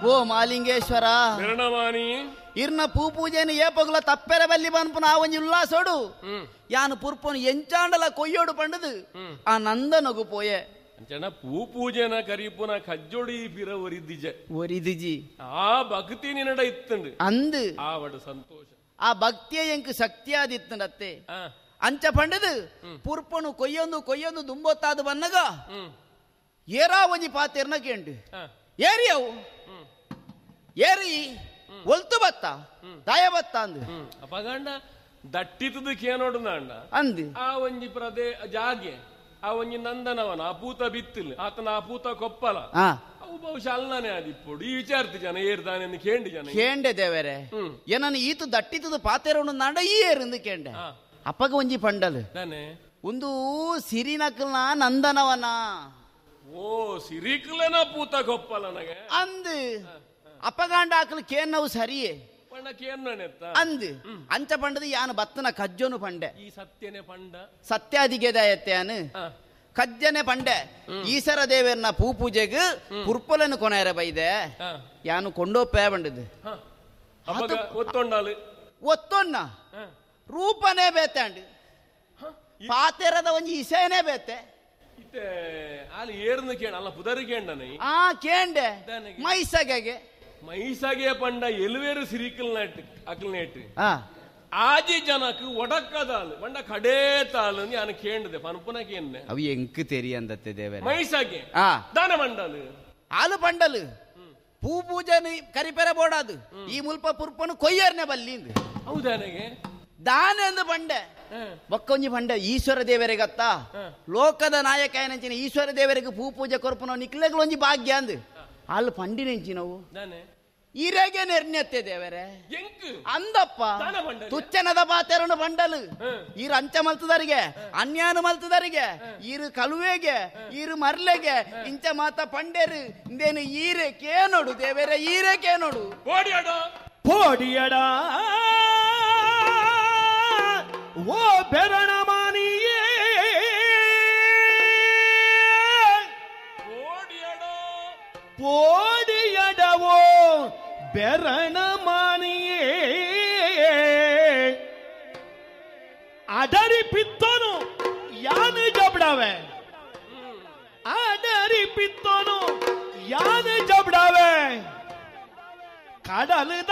ಓ ಮಾಲಿಂಗೇಶ್ವರ ಬೆರಣಮಾನಿ ಇರ್ನ ಪೂ ಪೂಜೆನ ಏಪಗುಲ ತಪ್ಪೆರೆ ಬಲ್ಲಿ ಪನ್ಪುನ ಆ ಒಂಜಿ ಉಲ್ಲಾಸೋಡು ಯಾನು ಪುರ್ಪನು ಎಂಚಾಂಡಲ ಕೊಯ್ಯೋಡು ಪಂಡದು ಆ ನಂದನಗು ಪೋಯೆ ಅಂಚನ ಪೂ ಪೂಜೆನ ಕರಿಪುನ ಕಜ್ಜೊಡಿ ಪಿರ ಒರಿದಿಜೆ ಒರಿದಿಜಿ ಆ ಭಕ್ತಿ ನಿನ್ನಡ ಇತ್ತಂಡು ಅಂದು ಆವಡ ಸಂತೋಷ ಆ ಭಕ್ತಿಯ ಎಂಕ್ ಶಕ್ತಿಯಾದಿತ್ತಂಡತ್ತೆ ಅಂಚ ಪಂಡದು ಪುರ್ಪನು ಕೊಯ್ಯೊಂದು ಕೊಯ್ಯೊಂದು ದುಂಬೊತ್ತಾದು ಬನ್ನಗ ಏರಾ ಒಂಜಿ ಪಾತೆರ್ನ ಕೇಂಡು ಏರಿ ಅವು ಏರಿ ಒಲ್ತು ಬತ್ತ ದಾಯ ಬತ್ತ ಅಂದು ಅಪಗಂಡ ದಟ್ಟಿತದ ಕೇನೋಡು ನಾಂಡ ಅಂದು ಆ ಒಂಜಿ ಪ್ರದೇ ಜಾಗೆ ಆ ಒಂಜಿ ನಂದನವನ ಆ ಪೂತ ಬಿತ್ತಿಲ್ ಆತನ ಆ ಪೂತ ಕೊಪ್ಪಲ ಅವು ಬಹುಶಃ ಅಲ್ಲಾನೆ ಆದಿಪ್ಪೋಡು ಈ ವಿಚಾರ್ತಿ ಜನ ಏರ್ದಾನೆ ಕೇಂಡಿ ಜನ ಕೇಂಡೆ ದೇವರೇ ಏನನ್ನು ಈತು ದಟ್ಟಿತದ ಪಾತೆರೋಣ ನಾಂಡ ಈ ಏರಿಂದು ಕೇಂಡೆ ಅಪ್ಪಗ ಒಂಜಿ ಪಂಡಲ್ ಒಂದು ಸಿರಿನಕಲ್ನ ನಂದನವನ ಓ ಸಿರಿಕಲನ ಪೂತ ಕೊಪ್ಪಲ ನನಗೆ ಅಂದು ಅಪ್ಪಗಾಂಡ ಆಕಲು ಕೇನ್ನವು ಸರಿಯೇ ಅಂದು ಅಂಚ ಪಂಡದು ಯಾನು ಬತ್ತನ ಕಜ್ಜೋನು ಪಂಡೆ ಈ ಸತ್ಯನೆ ಪಂಡ ಸತ್ಯಾದಿಗೆದಾಯತ್ಯಾನು ಕಜ್ಜನೆ ಪಂಡೆ ಈಸರ ದೇವರನ್ನ ಪೂ ಪೂಜೆಗೆ ಪುರ್ಪಲನ್ನು ಕೊನೆಯರ ಬೈದೆ ಯಾನು ಕೊಂಡೋಪೇ ಬಂಡದು ಒತ್ತೊಂಡಾಲು ಒತ್ತೊನ್ನ ರೂಪನೇ ಬೇತಾಂಡು ಪಾತೆರದ ಒಂಜಿ ಇಸೆನೇ ಬೇತೆ ಅಲ್ಲಿ ಏರ್ನ ಕೇಂಡ ಅಲ್ಲ ಪುದರ್ ಕೇಂಡನೆ ಆ ಕೇಂಡೆ ಮೈಸಗೆಗೆ ಮೈಸಗೆ ಪಂಡ ಎಲುವೇರು ಸಿರಿಕಲ್ ನೆಟ್ ಅಕಲ್ ನೆಟ್ ಆಜಿ ಜನಕ್ ಒಡಕ್ಕದಾಲು ಪಂಡ ಕಡೇ ತಾಲು ನಾನು ಕೇಂಡದೆ ಪನ್ಪುನ ಕೇಂಡೆ ಅವು ಎಂಕ್ ತೆರಿಯಂದತ್ತೆ ದೇವರೇ ಮೈಸಗೆ ದಾನ ಮಂಡಲು ಆಲು ಪಂಡಲು ಪೂ ಪೂಜೆನ ಕರಿಪೆರ ಬೋಡಾದು ಈ ಮುಲ್ಪ ಪುರ್ಪನು ಕೊಯ್ಯರ್ನೆ ಬಲ್ಲಿಂದು ಹೌದಾನೆಗೆ ದಾನೆ ಅಂದು ಪಂಡೆ ಬೊಕ್ಕೊಂಜಿ ಪಂಡೆ ಈಶ್ವರ ದೇವರಿಗತ್ತ ಲೋಕದ ನಾಯಕ ಏನಂಚಿನ ಈಶ್ವರ ದೇವರಿಗೆ ಪೂ ಪೂಜೆ ಕೊರ್ಪುನ ನಿಕ್ಲೆಗಳೊಂಜಿ ಭಾಗ್ಯ ಅಂದು ಅಲ್ಲಿ ಪಂಡಿನೆಂಚಿನವು ಇರೆಗೆ ನೆರ್ನೆತ್ತೆ ದೇವರೇ ಅಂದಪ್ಪ ತುಚ್ಚನದ ಪಾತೆರನು ಬಂಡಲು ಈರು ಅಂಚ ಮಲ್ತದರಿಗೆ ಅನ್ಯಾನು ಮಲ್ತದರಿಗೆ ಈರು ಕಲುವೆಗೆ ಈರು ಮರ್ಲೆಗೆ ಇಂಚ ಮಾತ ಪಂಡೇರು ಇಂದೇನು ಈರೆ ಕೇನೋಡು ದೇವರೇ ಈರೆ ಕೇನೋಡು ಪೋಡಿಯಡ ಓ ಬೆರಣಮಾನಿಯೇ ಪೋಡಿಯಡವೋ ಬೆರಣಮಾನಿಯೇ ಅಡರಿ ಪಿತ್ತನು ಯಾನು ಜಬಡಾವೆ ಅಡರಿ ಪಿತ್ತನು ಯಾನು ಜಬಡಾವೆ ಕಡಲದ